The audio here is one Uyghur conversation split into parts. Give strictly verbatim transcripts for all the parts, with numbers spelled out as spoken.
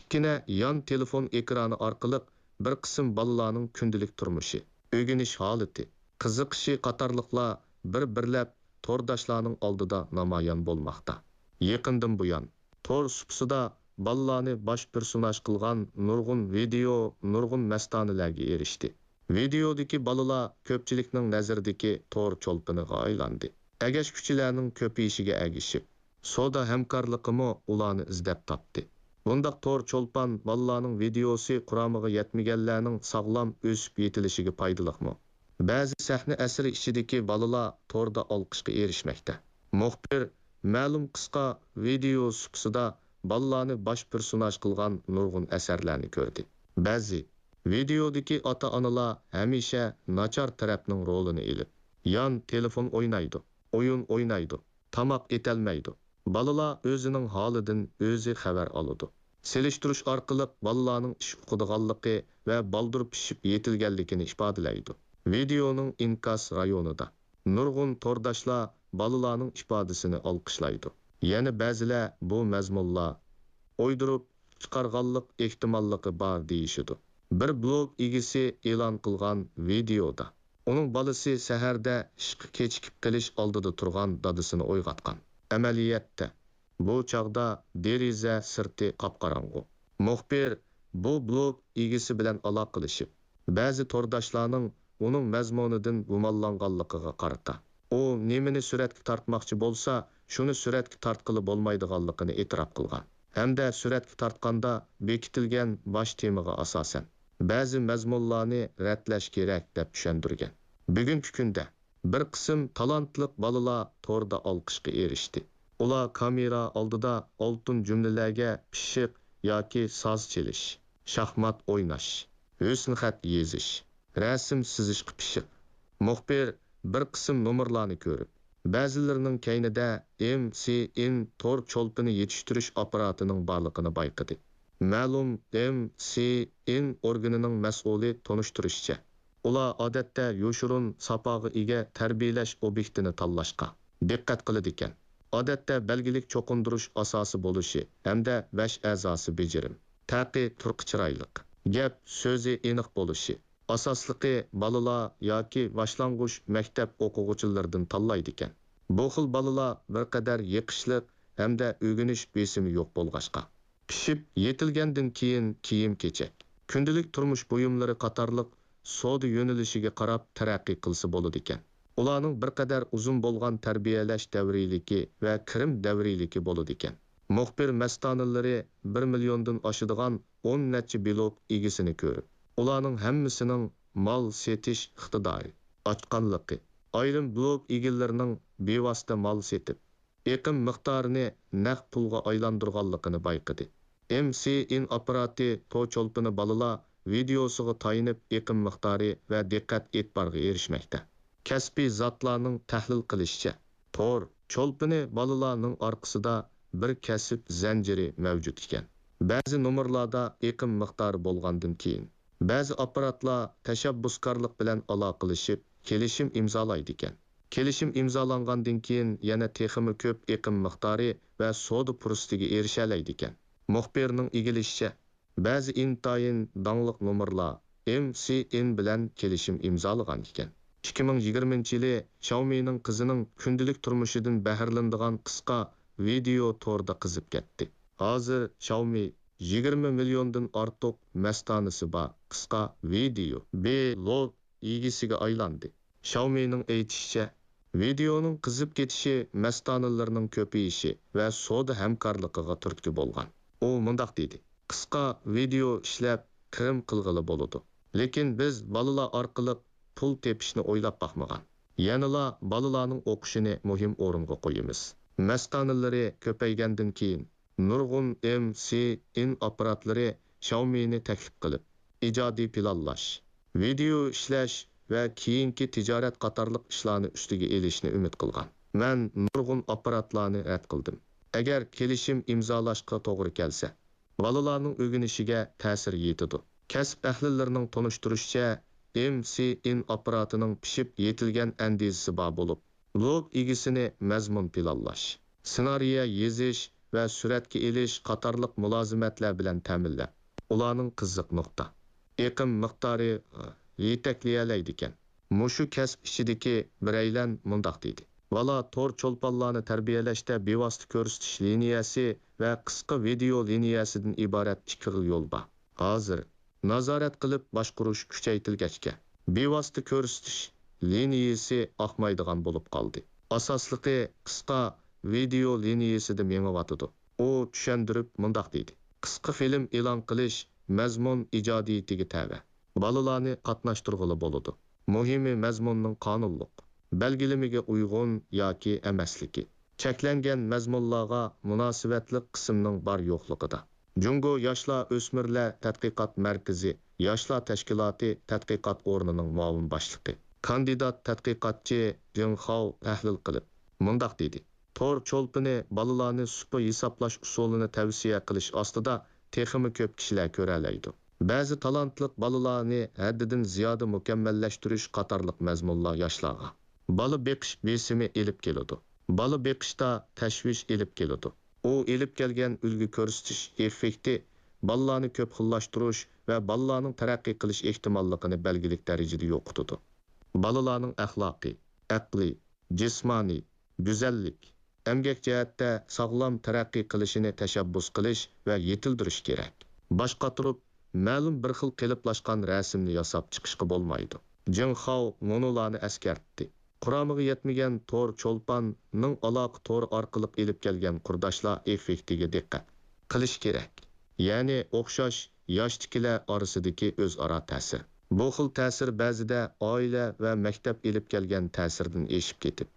كىچىككىنە يان تېلېفون ئېكرانى ئارقىلىق بىر قىسىم بالىلارنىڭ كۈندىلىك تۇرمۇشى، ئۆگىنىش ھالىتى، قىزىقىشى قاتارلىقلار بىر-بىرلەپ تورداشلارنىڭ ئالدىدا نامايان بولماقتا. يېقىندىن بۇيان، تور سۇپىسىدا بالىلارنى باش پېرسوناژ قىلغان نۇرغۇن ۋىدېئو نۇرغۇن مەستانىلەرگە ئېرىشتى. ۋىدېئودىكى بالىلار كۆپچىلىكنىڭ نەزىرىدىكى تور چولپىنىغا ئايلاندى. ئەگەشكۈچىلەرنىڭ كۆپىيىشىگە ئەگىشىپ، سودا ھەمكارلىقىمۇ ئۇلارنى ئىزدەپ تاپتى. بۇنداق تور چولپان بالىلارنىڭ ۋىدېئوسى قۇرامىغا يەتمىگەنلەرنىڭ ساغلام ئۆسۈپ يېتىلىشىگە پايدىلىقمۇ؟ بەزى سەھنە ئەسىرى ئىچىدىكى بالىلار توردا ئالقىشقا ئېرىشمەكتە. مۇخبىر مەلۇم قىسقا ۋىدېئو سۇپىسىدا بالىلارنى باش پېرسوناژ قىلغان نۇرغۇن ئەسەرلەرنى كۆردى. بەزى ۋىدېئودىكى ئاتا-ئانىلار ھەمىشە ناچار تەرەپنىڭ رولىنى ئېلىپ، يان تېلېفون ئوينايدۇ، ئويۇن ئوينايدۇ، تاماق ئېتەلمەيدۇ. بالىلار ئۆزىنىڭ ھالىدىن ئۆزى خەۋەر ئالىدۇ. سېلىشتۇرۇش ئارقىلىق بالىلارنىڭ ئىش ئۇقىدىغانلىقى ۋە بالدۇر پىشىپ يېتىلگەنلىكىنى ئىپادىلەيدۇ. ۋىدېئونىڭ ئىنكاس رايونىدا نۇرغۇن تورداشلار بالىلارنىڭ ئىپادىسىنى ئالقىشلايدۇ. يەنە بەزىلەر بۇ مەزمۇنلار ئويدۇرۇپ چىقارغانلىق ئېھتىماللىقى بار دېيىشىدۇ. بىر بلوگ ئىگىسى ئېلان قىلغان ۋىدېئودا ئۇنىڭ بالىسى سەھەردە ئىشقا كېچىكىپ قېلىش ئالدىدا تۇرغان دادىسىنى ئويغاتقان. ئەمەلىيەتتە، بۇ چاغدا دېرىزە سىرتى قاپقاراڭغۇ. مۇخبىر بۇ بلوگ ئىگىسى بىلەن ئالاقىلىشىپ، بەزى تورداشلارنىڭ ئۇنىڭ مەزمۇنىدىن گۇمانلانغانلىقىغا قارىتا، ئۇ نېمىنى سۈرەتكە تارتماقچى بولسا، شۇنى سۈرەتكە تارتقىلى بولمايدىغانلىقىنى ئېتىراپ قىلغان ھەمدە سۈرەتكە تارتقاندا بېكىتىلگەن باش تېمىغا ئاساسەن، بەزى مەزمۇنلارنى رەتلەش كېرەك، دەپ چۈشەندۈرگەن. بۈگۈنكى كۈندە بىر قىسىم تالانتلىق بالىلار توردا ئالقىشقا ئېرىشتى. ئۇلار كامېرا ئالدىدا ئالتۇن جۈملىلەرگە پىششىق ياكى ساز چېلىش، شاھمات ئويناش، ھۆسنخەت يېزىش، رەسىم سىزىشقا پىششىق. مۇخبىر بىر قىسىم نومۇرلارنى كۆرۈپ، بەزىلىرىنىڭ كەينىدە ئېم سى ئېن تور چولپىنى يېتىشتۈرۈش ئاپپاراتىنىڭ بارلىقىنى بايقىدى. مەلۇم ئېم سى ئېن ئورگىنىنىڭ مەسئۇلى تونۇشتۇرۇشىچە، ئۇلار ئادەتتە يوشۇرۇن ساپاغا ئىگە تەربىيەلەش ئوبيېكتىنى تاللاشقا دىققەت قىلىدىكەن. ئادەتتە بەلگىلىك چوقۇندۇرۇش ئاساسى بولۇشى ھەمدە بەش ئەزاسى بېجىرىم، تەقى تۇرقى چىرايلىق، گەپ سۆزى ئېنىق بولۇشى، ئاساسلىقى بالىلار ياكى باشلانغۇچ مەكتەپ ئوقۇغۇچىلىرىدىن تاللايدىكەن. بۇ خىل بالىلار بىر قەدەر يېقىشلىق ھەمدە ئۆگىنىش بېسىمى يوق بولغاچقا، پىشىپ يېتىلگەندىن كېيىن كىيىم-كېچەك، كۈندىلىك تۇرمۇش بۇيۇملىرى قاتارلىق سودا يۆنىلىشىگە قاراپ تەرەققىي قىلسا بولىدىكەن. ئۇلارنىڭ بىر قەدەر ئۇزۇن بولغان تەربىيەلەش دەۋرىيلىكى ۋە كىرىم دەۋرىيلىكى بولىدىكەن. مۇخبىر مەستانىلىرى بىر مىليوندىن ئاشىدىغان ئون نەچچە بلوگ ئىگىسىنى كۆرۈپ، ئۇلارنىڭ ھەممىسىنىڭ مال سېتىش ئىقتىدارى، ئاچقانلىقى، ئايرىم بلوگ ئىگىلىرىنىڭ بىۋاسىتە مال سېتىپ، ئېقىم مىقدارىنى نەق پۇلغا ئايلاندۇرغانلىقىنى بايقىدى. ئېم سى ئېن ئاپپاراتى تور چولپىنى بالىلار ۋىدېئوسىغا تايىنىپ ئېقىم مىقدارى ۋە دىققەت ئېتىبارغا ئېرىشمەكتە. كەسپىي زاتلارنىڭ تەھلىل قىلىشىچە، تور چولپىنى بالىلارنىڭ ئارقىسىدا بىر كەسىپ زەنجىرى مەۋجۇت ئىكەن. بەزى نومۇرلاردا ئېقىم مىقدارى بولغاندىن كېيىن، بەزى ئاپپاراتلار تەشەببۇسكارلىق بىلەن ئالاقىلىشىپ، كېلىشىم ئىمزالايدىكەن. كېلىشىم ئىمزالانغاندىن كېيىن، يەنە تېخىمۇ كۆپ ئېقىم مىقدارى ۋە سودا پۇرسىتىگە ئېرىشەلەيدىكەن. مۇخبىرنىڭ ئىگىلىشىچە، بەزى ئىنتايىن داڭلىق نومۇرلار ئېم سى ئېن بىلەن كېلىشىم ئىمزالىغان ئىكەن. ئىككى مىڭ يىگىرمىنچى يىلى شاۋمىنىڭ قىزىنىڭ كۈندىلىك تۇرمۇشىدىن بەھرىلىنىدىغان قىسقا ۋىدېئو توردا قىزىپ كەتتى. ھازىر شاۋمى يىگىرمە مىليوندىن ئارتۇق مەستانىسى بار قىسقا ۋىدېئو بلوگ ئىگىسىگە ئايلاندى. شاۋمىنىڭ ئېيتىشىچە، ۋىدېئونىڭ قىزىپ كېتىشى مەستانىلىرىنىڭ كۆپىيىشى ۋە سودا ھەمكارلىقىغا تۈرتكە بولغان. ئۇ مۇنداق دېدى، قىسقا ۋىدېئو ئىشلەپ، كىرىم قىلغىلى بولىدۇ. لېكىن بىز بالىلار ئارقىلىق پۇل تېپىشنى ئويلاپ باقمىغان. يەنىلا بالىلارنىڭ ئوقۇشىنى مۇھىم ئورۇنغا قويىمىز. مەستانىلىرى كۆپەيگەندىن كېيىن، نۇرغۇن ئېم سى ئېن ئاپپاراتلىرى شاۋمىنى تەكلىپ قىلىپ، ئىجادىي پىلانلاش، ۋىدېئو ئىشلەش ۋە كېيىنكى تىجارەت قاتارلىق ئىشلارنى ئۈستىگە ئېلىشنى ئۈمىد قىلغان. مەن نۇرغۇن ئاپپاراتلارنى رەت قىلدىم. ئەگەر كېلىشىم ئىمزالاشقا توغرا كەلسە، بالىلارنىڭ ئۆگىنىشىگە تەسىر يېتىدۇ. كەسىپ ئەھلىلىرىنىڭ تونۇشتۇرۇشىچە، ئېم سى ئېن ئاپپاراتىنىڭ پىشىپ يېتىلگەن ئەندىزىسى بار بولۇپ، بلوگ ئىگىسىنى مەزمۇن پىلانلاش، سېنارىيە يېزىش ۋە سۈرەتكە ئېلىش قاتارلىق مۇلازىمەتلەر بىلەن تەمىنلەپ، ئۇلارنىڭ قىزىق نۇقتا ئېقىم مىقدارى يېتەكلىيەلەيدىكەن. مۇشۇ كەسىپ ئىچىدىكى بىرەيلەن مۇنداق دېدى: بالا تور چولپانلارنى تەربىيەلەشتە بىۋاسىتە كۆرسىتىش لىنىيەسى ۋە قىسقا ۋىدېئو لىنىيەسىدىن ئىبارەت ئىككى خىل يول بار. ھازىر نازارەت قىلىپ باشقۇرۇش كۈچەيتىلگەچكە، بىۋاسىتە كۆرسىتىش لىنىيەسى ئاقمايدىغان بولۇپ قالدى. ئاساسلىقى قىسقا ۋىدېئو لىنىيەسىدە مېڭىۋاتىدۇ. ئۇ چۈشەندۈرۈپ مۇنداق دېدى: قىسقا فىلىم ئېلان قىلىش مەزمۇن ئىجادىيىتىگە تەۋە. بالىلارنى قاتناشتۇرغىلى بولىدۇ. مۇھىمى مەزمۇننىڭ قانۇنلۇق بەلگىلىمىگە ئۇيغۇن ياكى ئەمەسلىكى، چەكلەنگەن مەزمۇنلارغا مۇناسىۋەتلىك قىسىمنىڭ بار-يوقلۇقىدا. جۇڭگو ياشلار ئۆسمۈرلەر تەتقىقات مەركىزى ياشلار تەشكىلاتى تەتقىقات ئورنىنىڭ مۇئاۋىن باشلىقى، كاندىدات تەتقىقاتچى جېڭ خاۋ تەھلىل قىلىپ مۇنداق دېدى: تور چولپىنى بالىلارنى سۇپا ھېسابلاش ئۇسۇلىنى تەۋسىيە قىلىش ئاستىدا تېخىمۇ كۆپ كىشىلەر كۆرەلەيدۇ. بەزى تالانتلىق بالىلارنى ھەددىدىن زىيادە مۇكەممەللەشتۈرۈش قاتارلىق مەزمۇنلار ياشلارغا بالا بېقىش بېسىمى ئېلىپ كېلىدۇ. بالا بېقىشتا تەشۋىش ئېلىپ كېلىدۇ. ئۇ ئېلىپ كەلگەن ئۈلگە كۆرسىتىش ئېففېكتى بالىلارنى كۆپ خىللاشتۇرۇش ۋە بالىلارنىڭ تەرەققىي قىلىش ئېھتىماللىقىنى بەلگىلىك دەرىجىدە يوقىتىدۇ. بالىلارنىڭ ئەخلاقىي، ئەقلىي، جىسمانىي، گۈزەللىك، ئەمگەك جەھەتتە ساغلام تەرەققىي قىلىشىنى تەشەببۇس قىلىش ۋە يېتىلدۈرۈش كېرەك. باش قاتۇرۇپ، مەلۇم بىر خىل قېلىپلاشقان رەسىمنى ياساپ چىقىشقا بولمايدۇ. جېڭ خاۋ مۇنۇلارنى ئەسكەرتتى: قۇرامىغا يەتمىگەن تور چولپاننىڭ ئالاقە تورى ئارقىلىق ئېلىپ كەلگەن قۇرداشلار ئېففېكتىگە دىققەت قىلىش كېرەك. يەنى ئوخشاش ياشتىكىلەر ئارىسىدىكى ئۆزئارا تەسىر. بۇ خىل تەسىر بەزىدە ئائىلە ۋە مەكتەپ ئېلىپ كەلگەن تەسىردىن ئېشىپ كېتىپ،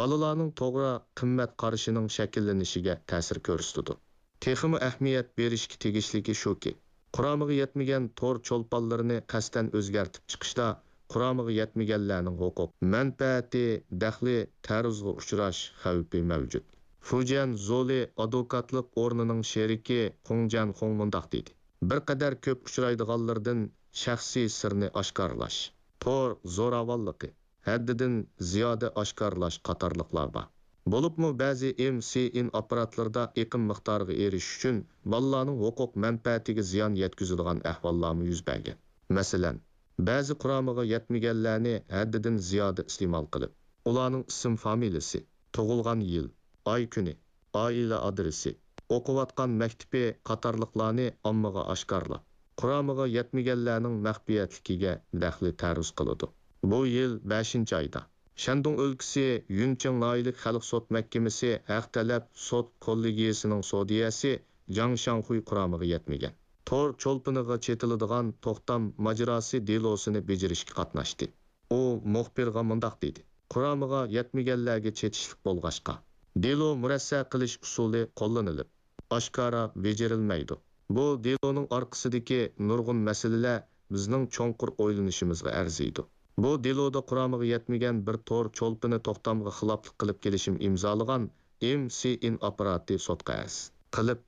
بالىلارنىڭ توغرا قىممەت قارىشىنىڭ شەكىللىنىشىگە تەسىر كۆرسىتىدۇ. تېخىمۇ ئەھمىيەت بېرىشكە تېگىشلىكى شۇكى، قۇرامىغا يەتمىگەن تور چولپانلىرىنى قەستەن ئۆزگەرتىپ چىقىشتا قۇرامىغا يەتمىگەنلەرنىڭ ھوقۇق مەنپەئەتى دەخلى تەرۇزغا ئۇچراش خەۋپى مەۋجۇت. فۇجيەن زولى ئادۋوكاتلىق ئورنىنىڭ شېرىكى خۇڭ جەنخۇڭ مۇنداق دېدى: بىر قەدەر كۆپ ئۇچرايدىغانلىرىدىن شەخسىي سىرنى ئاشكارىلاش، تور زوراۋانلىقى، ھەددىدىن زىيادە ئاشكارىلاش قاتارلىقلار بار. بولۇپمۇ بەزى ئېم سى ئىن ئاپپاراتلىرىدا ئېقىم مىقدارىغا ئېرىشىش ئۈچۈن بالىلارنىڭ ھوقۇق مەنپەئەتىگە زىيان يەتكۈزىدىغان ئەھۋاللارمۇ يۈز بەرگەن. مەسىلەن، بەزى قۇرامىغا يەتمىگەنلەرنى ھەددىدىن زىيادە ئىستېمال قىلىپ، ئۇلارنىڭ ئىسىم-فامىلىسى، تۇغۇلغان يىل، ئاي-كۈنى، ئائىلە ئادرېسى، ئوقۇۋاتقان مەكتىپى قاتارلىقلارنى ئاممىغا ئاشكارىلاپ، قۇرامىغا يەتمىگەنلەرنىڭ مەخپىيەتلىكىگە دەخلى تەرۇز قىلىدۇ. بۇ يىل بەشىنچى ئايدا، شەندۇڭ ئۆلكىسى يۈنچىڭ ناھىيەلىك خەلق سوت مەھكىمىسى ھەق تەلەپ سوت كوللېگىيەسىنىڭ سودىيەسى جاڭ شاڭخۇي قۇرامىغا يەتمىگەن تور چولپىنىغا چېتىلىدىغان توختام ماجىراسى دېلوسىنى بېجىرىشكە قاتناشتى. ئۇ مۇخبىرغا مۇنداق دېدى: قۇرامىغا يەتمىگەنلەرگە چېتىشلىق بولغاچقا، دېلو مۇرەسسە قىلىش ئۇسۇلى قوللىنىلىپ، ئاشكارا بېجىرىلمەيدۇ. بۇ دېلونىڭ ئارقىسىدىكى نۇرغۇن مەسىلىلەر بىزنىڭ چوڭقۇر ئويلىنىشىمىزغا ئەرزىيدۇ. بۇ دېلودا قۇرامىغا يەتمىگەن بىر تور چولپىنى توختامغا خىلاپلىق قىلىپ كېلىشىم ئىمزالىغان ئېم سى ئىن ئاپپاراتى سوتقا ئەرز قىلىپ،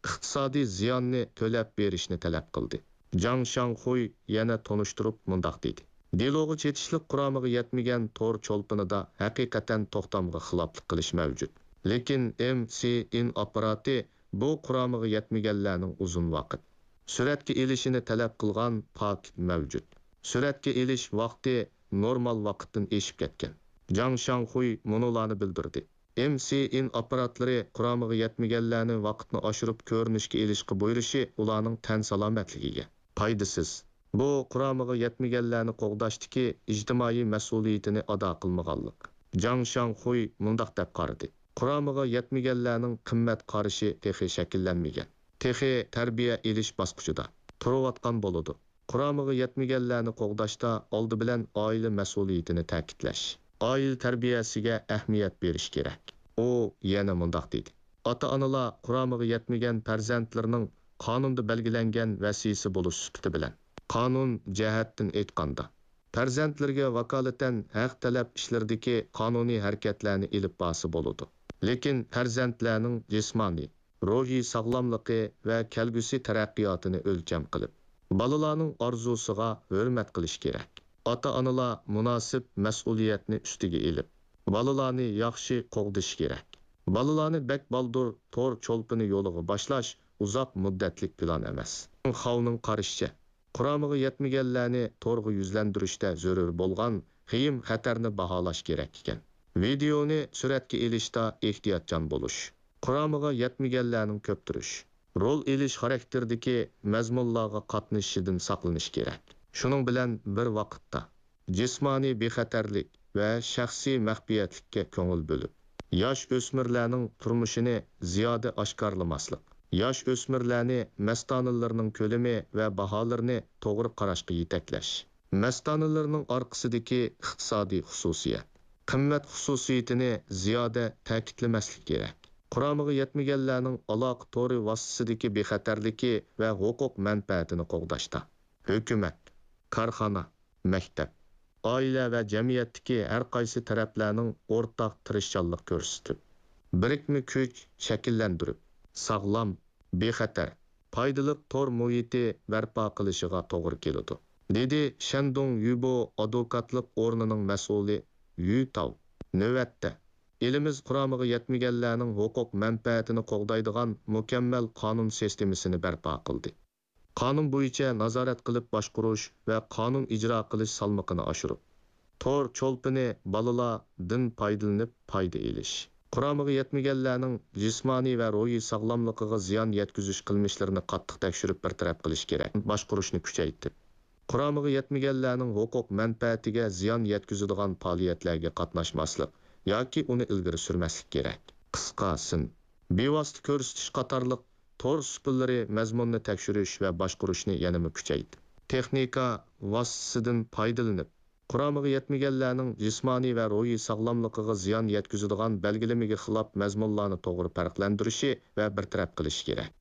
ئىقتىسادىي زىياننى تۆلەپ بېرىشنى تەلەپ قىلدى. جاڭ شاڭخۇي يەنە تونۇشتۇرۇپ مۇنداق دېدى: دېلوغا چېتىشلىق قۇرامىغا يەتمىگەن تور چولپىنىدا ھەقىقەتەن توختامغا خىلاپلىق قىلىش مەۋجۇت. لېكىن ئېم سى ئىن ئاپپاراتى بۇ قۇرامىغا يەتمىگەنلەرنىڭ ئۇزۇن ۋاقىت سۈرەتكە ئېلىشىنى تەلەپ قىلغان پاكىت مەۋجۇت. سۈرەتكە ئېلىش ۋاقتى نورمال ۋاقىتتىن ئېشىپ كەتكەن. جاڭ شاڭخۇي مۇنۇلارنى بىلدۈردى: ئېم سى ئىن ئاپپاراتلىرى قۇرامىغا يەتمىگەنلەرنى ۋاقىتنى ئاشۇرۇپ كۆرۈنۈشكە ئېلىشقا بۇيرۇشى ئۇلارنىڭ تەن سالامەتلىكىگە پايدىسىز. بۇ قۇرامىغا يەتمىگەنلەرنى قوغداشتىكى ئىجتىمائىي مەسئۇلىيىتىنى ئادا قىلمىغانلىق. جاڭ شاڭخۇي مۇنداق دەپ قارىدى: قۇرامىغا يەتمىگەنلەرنىڭ قىممەت قارىشى تېخى شەكىللەنمىگەن. تېخى تەربىيە ئېلىش باسقۇچىدا تۇرۇۋاتقان بولىدۇ. قۇرامىغا يەتمىگەنلەرنى قوغداشتا ئالدى بىلەن ئائىلە مەسئۇلىيىتىنى تەكىتلەش، ئائىلە تەربىيەسىگە ئەھمىيەت بېرىش كېرەك. ئۇ يەنە مۇنداق دېدى: ئاتا-ئانىلار قۇرامىغا يەتمىگەن پەرزەنتلىرىنىڭ قانۇندا بەلگىلەنگەن ۋەسىيسى بولۇش سۈپىتى بىلەن، قانۇن جەھەتتىن ئېيتقاندا، پەرزەنتلىرىگە ۋاكالىتەن ھەق تەلەپ ئىشلىرىدىكى قانۇنىي ھەرىكەتلەرنى ئېلىپ بارسا بولىدۇ. لېكىن پەرزەنتلەرنىڭ جىسمانىي، روھىي ساغلاملىقى ۋە كەلگۈسى تەرەققىياتىنى ئۆلچەم قىلىپ، بالىلارنىڭ ئارزۇسىغا ھۆرمەت قىلىش كېرەك. ئاتا-ئانىلار مۇناسىپ مەسئۇلىيەتنى ئۈستىگە ئېلىپ، بالىلارنى ياخشى قوغدىشى كېرەك. بالىلارنى بەك بالدۇر تور چولپىنى يولىغا باشلاش ئۇزاق مۇددەتلىك پىلان ئەمەس. خاۋنىڭ قارىشىچە، قۇرامىغا يەتمىگەنلەرنى تورغا يۈزلەندۈرۈشتە زۆرۈر بولغان خېيىم خەتەرنى باھالاش كېرەك ئىكەن. ۋىدېئونى سۈرەتكە ئېلىشتا ئېھتىياتچان بولۇش، قۇرامىغا يەتمىگەنلەرنىڭ كۆپتۈرۈش، رول ئېلىش خاراكتېرىدىكى مەزمۇنلارغا قاتنىشىشىدىن ساقلىنىش كېرەك. شۇنىڭ بىلەن بىر ۋاقىتتا، جىسمانىي بىخەتەرلىك ۋە شەخسىي مەخپىيەتلىككە كۆڭۈل بۆلۈپ، ياش ئۆسمۈرلەرنىڭ تۇرمۇشىنى زىيادە ئاشكارىلىماسلىق، ياش ئۆسمۈرلەرنى مەستانىلىرىنىڭ كۆلىمى ۋە باھالىرىنى توغرا قاراشقا يېتەكلەش، مەستانىلىرىنىڭ ئارقىسىدىكى ئىقتىسادىي خۇسۇسىيەت، قىممەت خۇسۇسىيىتىنى زىيادە تەكىتلىمەسلىك كېرەك. قۇرامىغا يەتمىگەنلەرنىڭ ئالاقە تورى ۋاسىتىسىدىكى بىخەتەرلىكى ۋە ھوقۇق مەنپەئەتىنى قوغداشتا، ھۆكۈمەت، كارخانا، مەكتەپ، ئائىلە ۋە جەمئىيەتتىكى ھەر قايسى تەرەپلەرنىڭ ئورتاق تىرىشچانلىق كۆرسىتىپ، بىرىكمە كۈچ شەكىللەندۈرۈپ، ساغلام، بىخەتەر، پايدىلىق تور مۇھىتى بەرپا قىلىشىغا توغرا كېلىدۇ، دېدى شەندۇڭ يۈبو ئادۋوكاتلىق ئورنىنىڭ مەسئۇلى يۈ تاۋ. نۆۋەتتە، ئېلىمىز قۇرامىغا يەتمىگەنلەرنىڭ ھوقۇق مەنپەئەتىنى قوغدايدىغان مۇكەممەل قانۇن سىستېمىسىنى بەرپا قىلدى. قانۇن بويىچە نازارەت قىلىپ باشقۇرۇش ۋە قانۇن ئىجرا قىلىش سالمىقىنى ئاشۇرۇپ، تور چولپىنى بالىلاردىن پايدىلىنىپ پايدا ئېلىش، قۇرامىغا يەتمىگەنلەرنىڭ جىسمانىي ۋە روھىي ساغلاملىقىغا زىيان يەتكۈزۈش قىلمىشلىرىنى قاتتىق تەكشۈرۈپ بىر تەرەپ قىلىش كېرەك. باشقۇرۇشنى كۈچەيتىپ، قۇرامىغا يەتمىگەنلەرنىڭ ھوقۇق مەنپەئەتىگە زىيان يەتكۈزىدىغان پائالىيەتلەرگە قاتناشماسلىق ياكى ئۇنى ئىلگىرى سۈرمەسلىك كېرەك. قىسقا سىن، بىۋاسىتە كۆرسىتىش قاتارلىق تور ئۈسكۈنلىرى مەزمۇنىنى تەكشۈرۈش ۋە باشقۇرۇشنى يەنىمۇ كۈچەيتىپ، تېخنىكا ۋاسىتىسىدىن پايدىلىنىپ، قۇرامىغا يەتمىگەنلەرنىڭ جىسمانىي ۋە روھىي ساغلاملىقىغا زىيان يەتكۈزىدىغان بەلگىلىمىگە خىلاپ مەزمۇنلارنى توغرا پەرقلەندۈرۈشى ۋە بىر تەرەپ قىلىشى كېرەك.